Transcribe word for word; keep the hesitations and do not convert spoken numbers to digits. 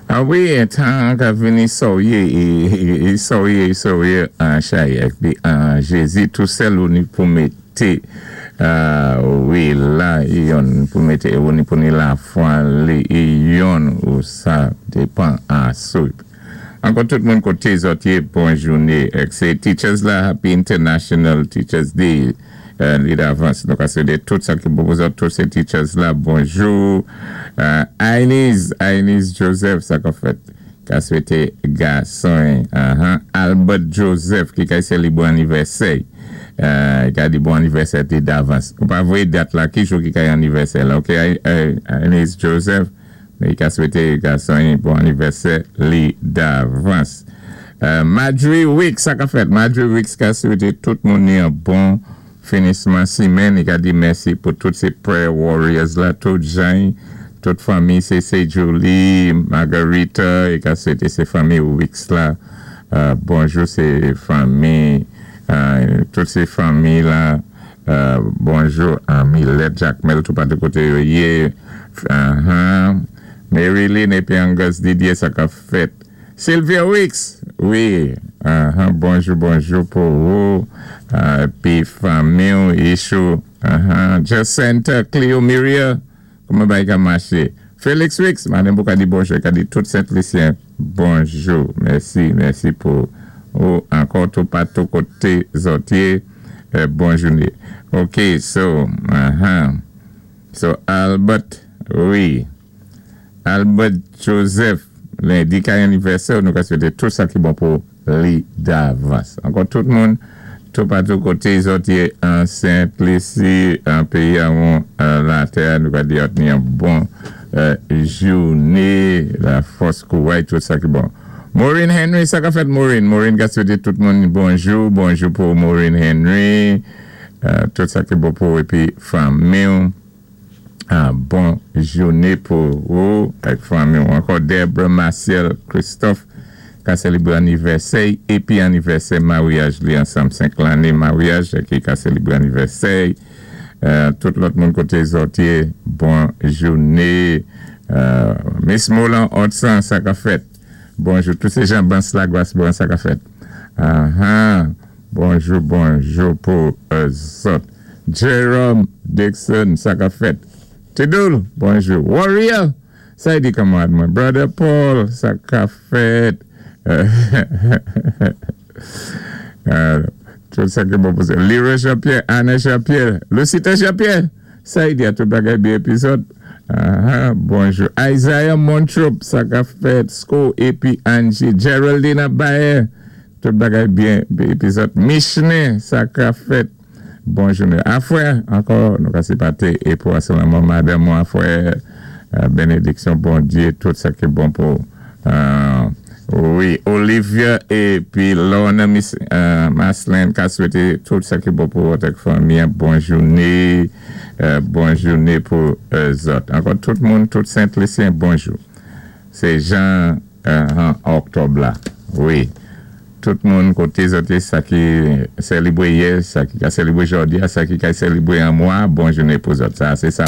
Ah wi, tan ka vini soyé, soyé, soyé an chay, épi an Jézi tou sèl ou ni pou mété, wi la, yon pou mété, ou ni pou ni lafwa li, yon ou sa dépan a sou. Ankò tout moun koté zòt yé, bon jouné. Sé Teachers la, Happy International Teachers Day, li davans. Donk sé de tout sa ki pou zòt, tout sé teachers la, bonjou. Ainis, Ainis Joseph, sa ka fèt, ka swété gason. Albert Joseph, ki ka sélibwé anivèsè. Ka di bon anivèsè té davans. Ou pa voyé dat la, ki jou ki ka anivèsè la, ok, Ainis Joseph, mé ka swété gason bon anivèsè li davans. Madry Wicks, sa ka fèt, Madry Wicks ka swété tout moun ni an bon finisman simenn, i ka di mèsi pou tout sé prayer warriors la, tout jan, tout fanmi, sé sé Julie, Margarita, i ka swété sé fanmi Wicks la, bonjou sé fanmi, tout sé fanmi la, bonjou Milet Jacmel, tout patou koté yo yé, Mary Lynn épi Angus Didier, sa ka fèt, Sylvia Wicks, wi, bonjou, bonjou pou ou, pi fanmi ou, Ishou, Jacinta, Cleo Miria, kouman bagay ka maché? Felix Wicks, madan pou ka di bonjou, ka di tout Sent-Lisyen, bonjou, mèsi, mèsi pou ou, ankò tout patou koté zòt yé, bon jouné. Ok, so, so Albert, wi, Albert Joseph, lendi ka anivèsè, nou ka swété tout sa ki bon pou li davans. Ankò tout moun, tout patou koté zòt yé an Sent-Lisi, an péyi an latè, nou ka di ni an bon jouné, la fòs kouway, tout sa ki bon. Maureen Henry, sa ka fèt Maureen. Maureen ka swété tout moun bonjou, bonjou pou Maureen Henry, tout sa ki bon pou épi fanmi ou. Bon jouné pou ou, ak fanmi ou. Ankò Debra Marcel Christophe, ka sélibwé anivèsè, épi anivèsè maryaj li ansanm senk lanné maryaj, ki ka sélibwé anivèsè. Tout lòt moun koté zòt yé, bon jouné. Miss Molan Otsan, sa ka fèt. Bonjou, tout sé jan Bans Lagwas, bon sa ka fèt. Bonjou, bonjou pou zòt. Jerome Dixon, sa ka fèt. Tidoul, bonjou. Warrior, sa y di kanmwad mwen. Brother Paul, sa ka fèt. Tout sa ki bon pou se. Leroy Jean-Pierre, Anna Jean-Pierre, Lucita Jean-Pierre, sa y di a tout bagay byen épi zòt. Bonjou. Isaiah Montrop, sa ka fèt. Sko épi Angie. Geraldine Abaye, tout bagay byen épi zòt. Michne, sa ka fèt. Bonjou. Afwè, ankò, nou ka sipaté é pou aselamon madanm mwen afwè, bénédiksyon Bondyé, tout sa ki bon pou wi, Olivia épi Lorna Miss Maslin ka swété tout sa ki bon pou avèk fanmi, bon jouné, bon jouné pou zòt. Ankò tout moun, tout Sent-Lisyen, bonjou. Sé jan an oktòb la, wi. Tout moun koté zòt sa ki sélibwé yè, sa ki ka sélibwé jòdi a, sa ki ka sélibwé an mwa, bon jouné pou zòt. Sa, sé sa.